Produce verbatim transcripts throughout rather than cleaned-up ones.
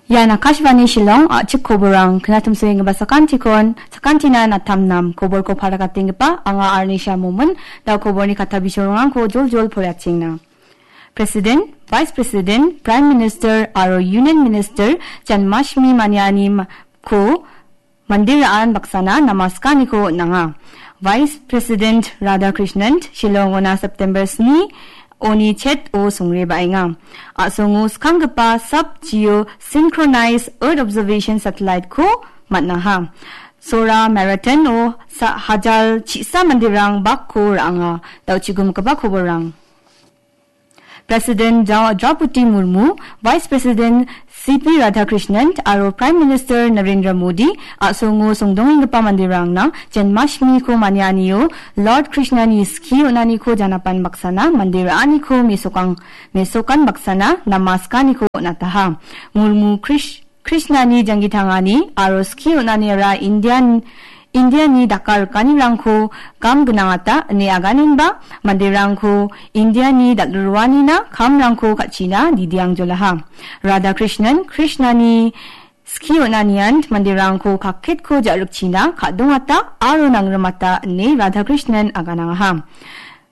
Ian Akashvani Shillong, a·chik koborang, knatimsoenggipa sakantikon, sakantina natamnam, koborko parakatenggipa, anga Arnisha Momin, da koborni kata bisorongrangko joljol poraiatengna. President, Vice President, Prime Minister aro Union Minister Janmashtami maniani ma-, ko mande ra·an baksana namaskaniko on·anga. Vice President Radhakrishnan Shillongona September sni oni chet-o songre ba·enga. A·songo skanggipa sub geosynchronized Earth Observation Satellite-ko man·aha. Sora Marathon-o sa-, hajal chisa manderang bakko ra·anga. Dauchikumgipa koborrang. President Dra-, Draupadi Murmu, Vice President C P Radhakrishnan aro Prime Minister Narendra Modi a·songo songdongenggipa manderangna Janmashtami-ko manianio Lord Krishnani skie on·aniko janapan baksana mande ra·aniko mesokang-, mesokan baksana namaskaniko on·ataha. Murmu Krish-, Krishnani janggi tangani aro skie on·aniara Indian, Indiani daka rikanirangko gam gnangata ine aganenba manderangko Indiani dal·ruanina kamrangko ka·china didiangjolaha. Radhakrishnan Krishnani skie on·anian manderangko kaketko ja·rikchina ka·dongata aro nangrimata ine Radhakrishnan aganangaha.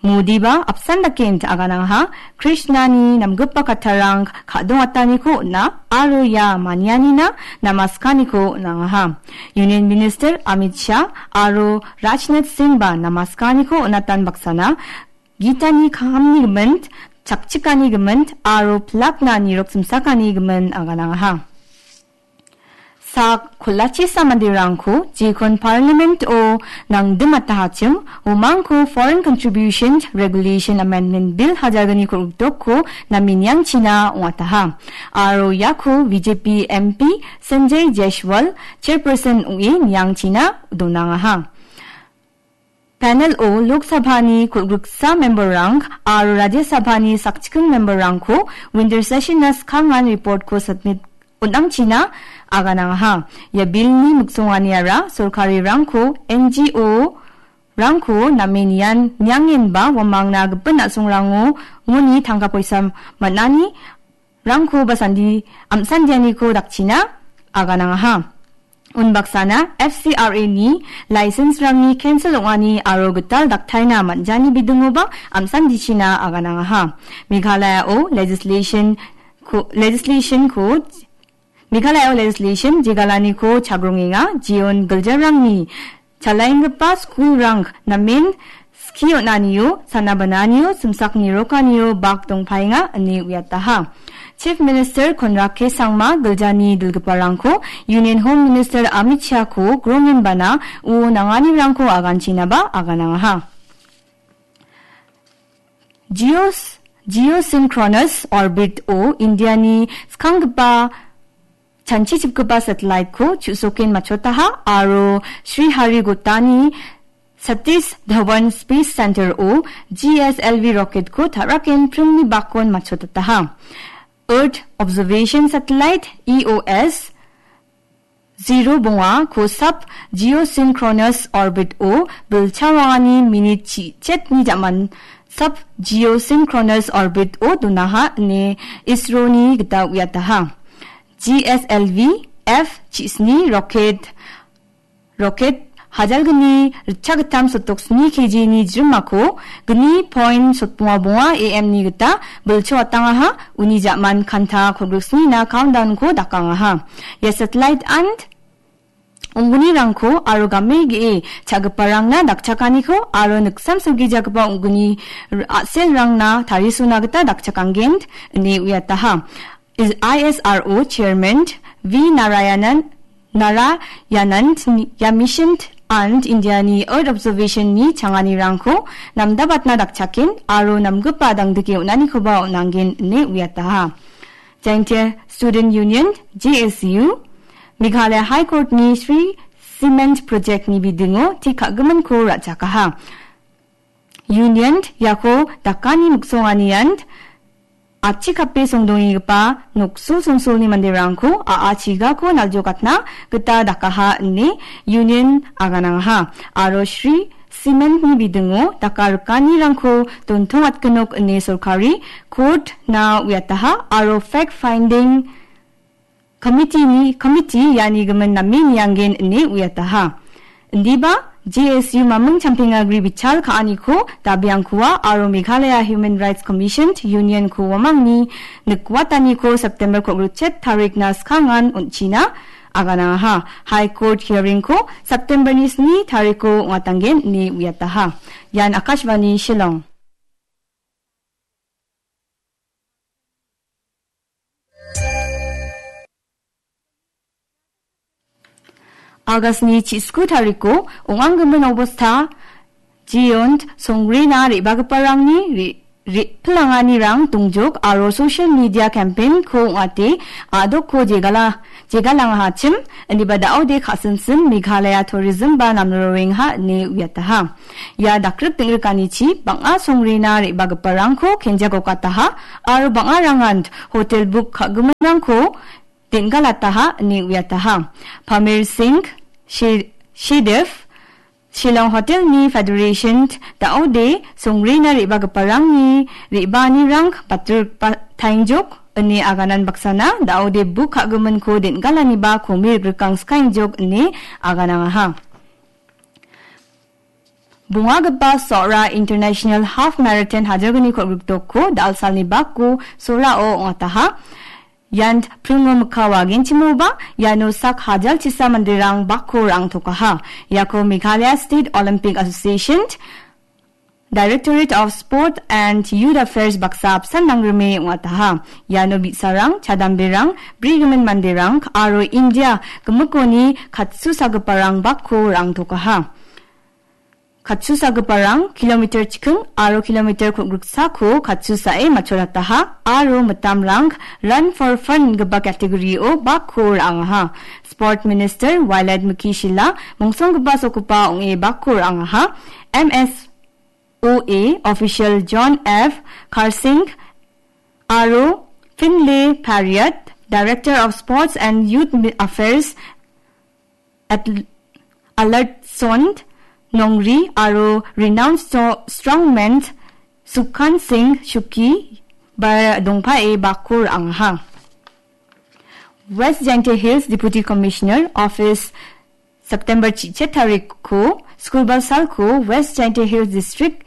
Modiba apsan dake int aganangaha, Krishnani namgipa kattarang ka·dongataniko on·a aro ia manianina namaskaniko on·angaha. Union Minister Amit Shah aro Rajnath Singhba namaskaniko on·atan baksana Gitani kahamni gimint, chakchikani gimint aro pilakna nirok simsakani gimin aganangaha. Sak kolachisa manderangko jekon Parliament-o nangdimatahachim, uamangko Foreign Contribution Regulation Amendment Bill hajalgni kolgrikdokko namenianchina ong·ataha. Aro iako B J P M P Sanjay Jaiswal chairperson ong·e niangchina donangaha. Panel-o Lok Sabhani kolgriksa memberrang aro Rajya Sabhani sakchiking memberrangko winter session-na skangan report-ko submit on·angchina aganangaha. Ia bill-ni miksonganiara sorkarirangko N G O-rangko namen ian niangenba uamangna gipin a·songrango uni tangka poisa man·ani rangko ba sandi am·sandianiko dakchina aganangaha. Unbaksana F C R A-ni license-rangni cancel ong·ani aro gital daktaina man·jani bidingoba am·sandichina aganangaha. Meghalaya-o legislation ko-, legislation-ko Meghalaya-o legislation jegalaniko chagrongenga, jeon giljarangni chalaenggipa skulrang namen skie on·anio, sana bananio, simsak nirokanio bak dongpaenga ine uiataha. Chief Minister Conrad K Sangma giljani dilgiparangko Union Home Minister Amit Shah-ko grongenbana uo nanganirangko aganchinaba aganangaha. Geos-, Geosynchronous Orbit-o Indiani skanggipa chanchichipgipa satellite-ko chu·soken matchotaha aro Sriharikotani Satish Dhawan Space Center-o G S L V rocket-ko ta·raken primni bakon matchotataha. Earth Observation Satellite, E O S, zero bonga kosap geosynchronous orbit-o bilchawangani minit chi-, chetni jaman sap geosynchronous orbit-o donaha ine isroni gita uiataha. G S L V F chisni rocket, rocket hajalgni ritchagittam sotok sni K G-ni jrimako gni point sotbonga bonga A M-ni gita bilchoatangaha, uni jaman kanta kolgriksnina countdown-ko dakangaha. Ia satellite-an ong·gnirangko aro game ge·e cha·giparangna dakchakaniko aro niksam silgijagipa ong·gni r-, a·selrangna tarisona gita dakchakangen ine uiataha. Is-, I S R O Chairman V Narayanan, Narayanan ia mission and Indiani Earth Observation-ni changanirangko namdabatna dakchaken aro namgipa dangdike on·anikoba on·angen ine uiataha. Jaintia Student Union, J S U, Meghalaya High Court-ni Shree Cement Project-ni bidingo tik ka·giminko ra·chakaha. Union iako dakani miksonganian achikape songdongenggipa nokso songsolni manderangko a·a chigako naljokatna gita dakaha ine Union aganangaha. Aro Shree Cement-ni bidingo daka rikanirangko dontongatgenok ine sorkari court-na uiataha aro fact finding Komitini, komiti iani gimin name niangen ine uiataha. Indiba, J S U maming champengagri bichal ka·aniko dabiangkua aro Meghalaya Human Rights Commission Union-ko uamangni nikwataniko September kogruchet tarikna skangan on·china aganangaha. High Court hearing-ko September-ni sni tariko ong·atanggen ine uiataha. Ian Akashvani Shillong. August-ni chisku tariko ong·anggimin obosta, Jiyont songrina re·bagiparangni re-, re-, pilanganirang dongjok aro social media campaign-ko ong·ate a·dokko jegala-, jegalangahachim, indiba da·ode ka·sinsin Meghalaya Tourism ba namrorengha ine uiataha. Ia dakrik ding·rikanichi bang·a songrina re·bagiparangko kenjagokataha aro bang·arangan hotel book ka·giminrangko den·galataha ine uiataha. Pamir Singh, Shi-, Shidev, Shillong Hotel-ni Federation da·ode songrina re·bagiparangni re·baanirang batur ba-, taingjok ine aganan baksana da·ode book ka·giminko den·galaniba komi rikrikangskaingjok ine aganangaha. Bongagipa Sora International Half Marathon hajalgni kol·griktokko dal·salni bakko Sorao ong·ataha. Ian pringo mikka wagenchimoba, iano sak hajal chisa manderang bakko ra·angtokaha. Iako Meghalaya State Olympic Association, Directorate of Sport and Youth Affairs baksa apsan nangrime ong·ataha. Iano bi·sarang, chadamberang, brigimin manderang, aro India gimikoni katsusagiparang bakko ra·angtokaha. Katsusagiparang kilometer chiking aro kilometer kol·griksako katsusae matchorataha aro mitamrang Run for Fun gipa category-o bakko ra·angaha. Sport Minister Wailad Mukhi Shylla mongsonggipa sokopa ong·e bakko ra·angaha. M S O A official John F Karsing aro Finlay Pariat, Director of Sports and Youth Affairs, Atl-, Alertsond Nongri aro renowned stro-, strongman Sukhan Singh Shuki ba dongpae bakko ra·angaha. West Jaintia Hills Deputy Commissioner Office September chichet tarikko, skulbal salko West Jaintia Hills District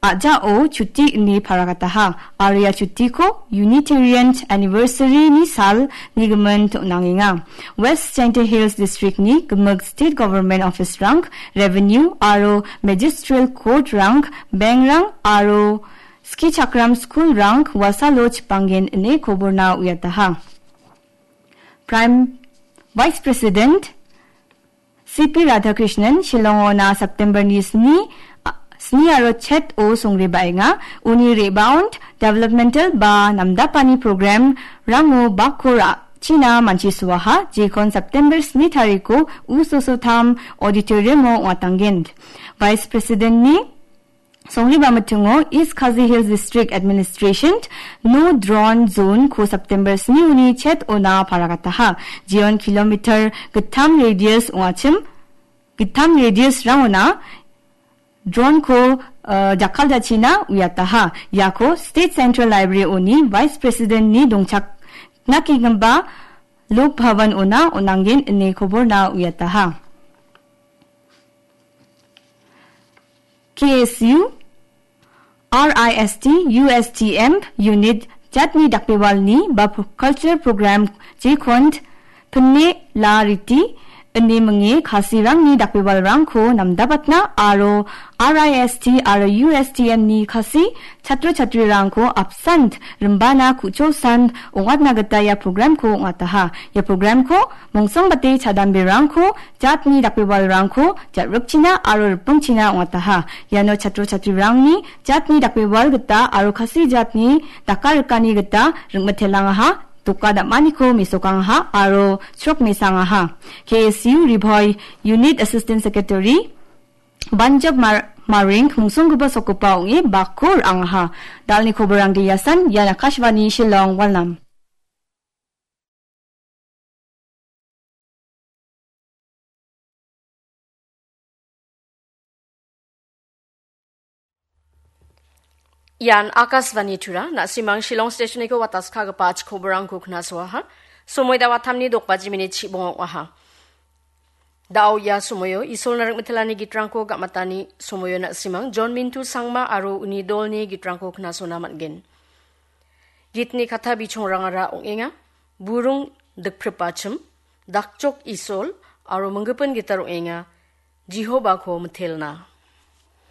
a·jao chuti ine paragataha. Aro ia chutiko Unitarian Anniversary-ni sal nigimin to·nangenga. West Jaintia Hills District-ni gimik State Government Office-rang, Revenue aro Magistral Court-rang, bank-rang aro skichakram school-rang wasalo chipanggen ine koborna uiataha. Prime Vice President C P Radhakrishnan Shillongona September-ni sni, a, sni aro chet-o songrebaenga. Uni re·baon developmental ba namdapani program-rango bakko ra·china manchisoaha, jekon September sni tariko U Soso Tham Auditorium-o ong·atanggen. Vice President-ni Songreba mitingo East Khasi Hills District Administration no drone zone-ko September sni uni chet-ona paragataha. Jeon kilometer gittam radius ong·achim, gittam radius-rangona drone-ko, eh, jakkaljachina uiataha. Iako State Central Library-oni Vice President-ni dongchakna kenggipa Lok Bhavan-ona on·angen ine koborna uiataha. K S U, R I S T, U S T M unit jatni dakbewalni ba pro-, culture program jekon pinne la riti ine minge Khasirangni dakbewalrangko namdapatna aro R I S T aro U S T M-ni Khasi chatro chatrirangko apsan rimbana ku·chosan ong·atna gita ia program-ko ong·ataha. Ia program-ko mongsongbate chadamberangko jatni dakbewalrangko jat·rikchina aro ripengchina ong·ataha. Iano chatro chatrirangni jatni dakbewal gita aro Khasi jatni daka rikani gita ring·mitelangaha, doka dam·aniko mesokangaha aro chrok mesangaha. K S U Ri Bhoi Unit Assistant Secretary Banjab Mar-, Maring mongsonggipa sokopa ong·e bakko ra·angaha. Dalni koborangde iasan, ian Akashvani Shillong, Walnam. Ian Akashvani Tura, na·simang Shillong Station-niko wataskagipa achikoborangko knasoaha. Somoi dawatamni dokbaji minit chibonga ong·aha. Da·o ia somoio Isolna ringmitelani gitrangko gamatani somoio na·simang John Mintu Sangma aro uni dolni gitrangko knasona man·gen. Gitni katta bichongrangara ong·enga, Burung Dikpripachim, Dakchok Isol aro Minggipin Gitar ong·enga, Jehovako mitelna.